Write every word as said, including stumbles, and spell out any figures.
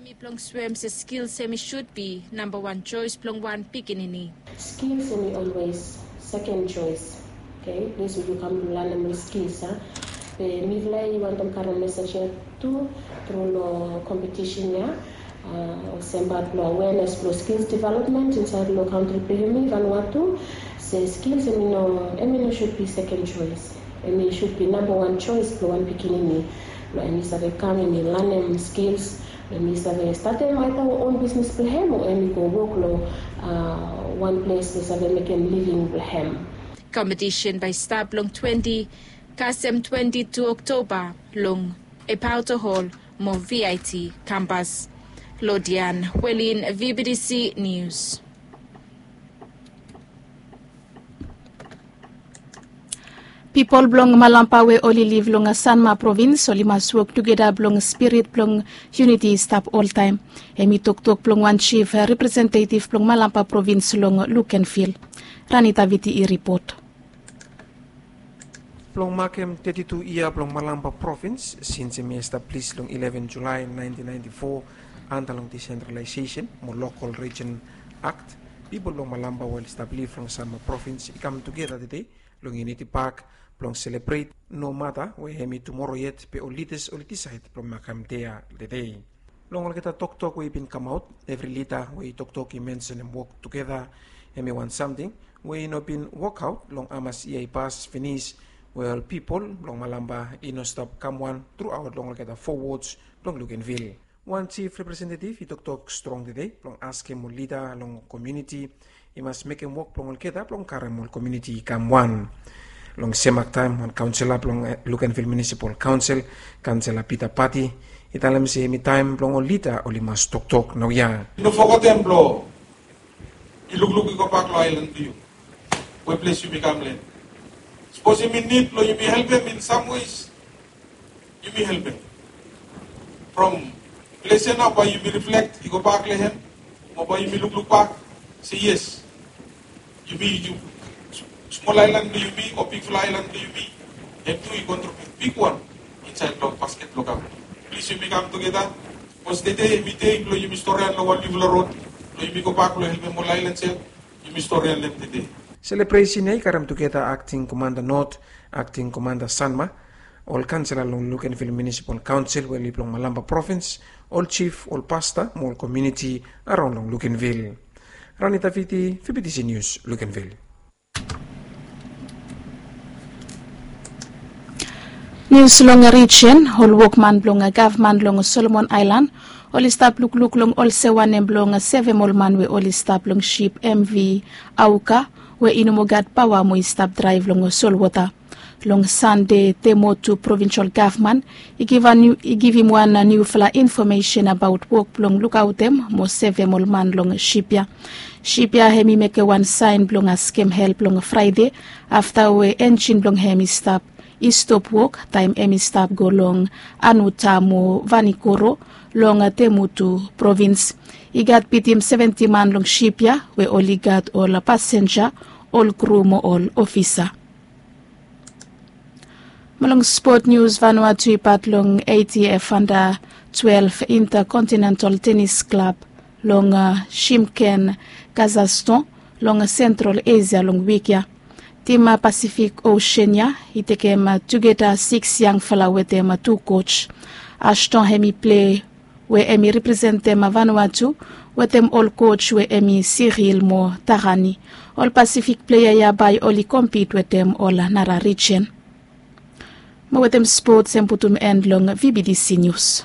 Mi blong swem se skils hemi shud bi namba wan joes blong wan pikinini. Skils hemi olwes seken joes. Okei, ples we yu kam blong lanem ol skils a. Be mifala i wantem karem mesej ya tu tru long kompetisen ya. Olsem bat blong awenes blong skils development insaed long kantri blong yumi vanua tu. Se skils hemi no hemi no shud bi seken joes. Hemi shud bi namba wan joes blong wan pikinini blong hemi save kam hemi lanem skils. Hemi save statem aita on bisnis blong hem o hemi go wok long wan ples we save mekem living blong hem. Kompetisen bae i stap long twenti kasem twenti tu Oktoba long Epauto Hall mo V I T kampas. Lodian Welin, V B T C News. Pipol blong Malampa we oli liv long Sanma provins oli mas wok tugeta blong spirit blong yuniti i stap oltaem. Hemi toktok blong wan jif representetiv blong Malampa provins long Lukenvil. Rani Taviti i ripot. Blong makem teti tu yia blong Malampa provins sins hemi establis long ileven Julae naentin naenti fo anta long disentralaesesen mo lokol rijen akt, pipol blong Malampa we oli stap liv long Sanma provins i kam tugeta tede long Yuniti Pak blong selebret, nomata we hemi tumoro yet be ol lidas oli disaed blong makem dei ya tede. Long olgeta toktok we i bin kamaot, evri lida we i toktok i mensenem wok tugeta. Hemi wan samting we i no bin wokaot long hamas yia i pas finis, we ol pipol blong Malampa i no stap kam wan truaot long olgeta fo wods blong Lukenvil. Wan jif representetiv i toktok strong tede blong askem ol lida long komuniti i mas mekem wok blong olgeta blong karem ol komuniti i kam wan. Long sem aktaem wan kaonsela blong Lukenvil Munisipal Kaonsel, kaonsela Pita Pati, i talem se hemi taem blong ol lida oli mas toktok naoia. I no fogetem blong i lukluk i gobak long aelan blong yu we ples yumi kam len. Sapos yumi nid blong yumi helpem in sam wes, yumi helpem. From ples ya nao bae yumi riflek i gobak long hem, mo bae yumi lukluk bak se yes, yumi yu smol aelan blong yumi o bigfala aelan blong yumi, hem tu i kontribiut bigwan insaed long basket blong kam. Plis yumi kam tugeta. Bikos tede hemi dei blong yumi storian long wan niufala rod blong yumi gobak blong helpem ol aelan ya. Yumi storian long hem tede. Selebresen ya i karem tugeta akting komanda Not, akting komanda Sanma, ol kaonsela long Lukenvil Munisipal Kaonsel we oli blong Malampa provins, ol jif, ol pasta mo ol komuniti araon long Lukenvil. Rani Taviti, V B T C News, Lukenvil. Nius long rijen, ol wokman blong gavman long Solomon Aelan oli stap lukluk long olsem wanem blong sevem ol man we oli stap long sip M V Auka we i no moa gat paoa mo i stap draev long solwota. Long Sande, Temotu provinsol gavman i givim wan niufala infomesen abaot wok blong lukaotem mo sevem ol man long sip ya. Sip ya hem i mekem wan saen blong askem help long Fraede afta we enjin blong hem i stap i stop wok taem hem i stap go long Anuta mo Vanikoro long Temotu provins. I gat bitim seventi man long sip ya we oli gat ol pasenja, ol kru mo ol ofisa. Mo long spot nius, Vanuatu i pat long A T F anda twelef Intercontinental Tenis Klab long Shymkent, Kazakhstan long Sentral Esia long wik ya. Tim Pasifik Osen ya i tekem tugeta sikis yangfala wetem tu koj. Ashton hem i plei we hem i representem Vanuatu wetem ol koj we hem i Siril mo Tarani. Ol Pasifik pleia ya bae oli kompit wetem ol nara rijen. Mo wetem spots hem putum en long V B T C Nius.